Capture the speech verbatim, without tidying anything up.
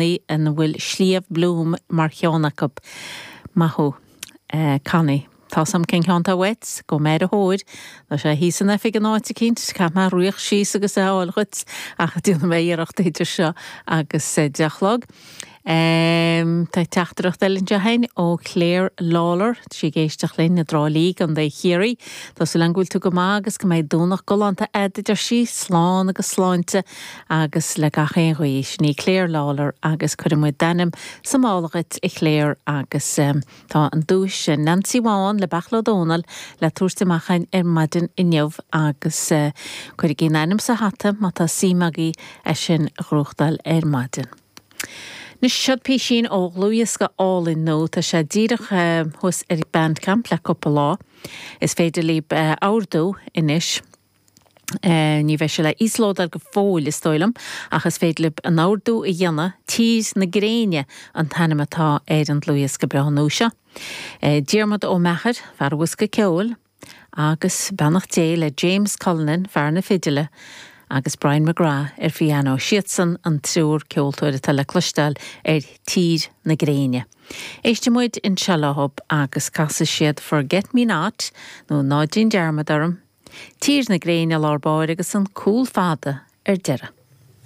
ina bhfuil Sliabh Bloom mar cheann acu. Maith thú Connie. Tá sam cén ceann uait go méid a thóir Tá sé thíos san oifig in áit eicínt, caithfidh mé rith síos agus é a fháil dhuit ach déanfaidh mé iarracht idir seo agus deich a chlog. Um, tá teachtaireacht eile anseo ó Claire Lawler sí ag éisteacht linn i dTrá Lí Contae Chiarraí. Tá súil agam go bhfuil tú go maith agus go mbeidh Domhnach galánta agat a deir sí slán agus sláinte agus le gach aon ghuí sin í Claire Lawler agus cuirfidh muid d'ainm sa mála dhuit a Claire agus um, tá an duais sin Nancy Bhán le Beachla Dónal le tabhairt amach ar maidin inniu agus uh, cuirigí ainm sa hata má tá suim agaibh é sin a ghnóthachtáil ar maidin. Anois seo písín ó dhlúthdhiosca álainn nua tá sé díreach uh, thuas ar Bandcamp le cúpla lá. Is féidir libh uh, ordú anois. Uh, ní bheidh sé le íoslódáil go fóill is dóigh liom, ach is féidir libh an ordú a dhéanamh Tír na Gréine an t-ainm atá ar an dlúthdhiosca breá nua seo. Uh, Diarmuid Ó Meachair, fear an bhosca ceoil, agus beannacht Dé le James Cullinan fear na fidile, agus Brian McGrath ar pianó siadsan an triúr ceoltóir atá le cloisteáil ar Tír na Gréine. Éistfidh muid anseo leo agus casfaidh siad Forget Me Not nó Ná Déan Dearmad Orm, Tír na Gréine lár báire agus an cúl fada ar deireadh.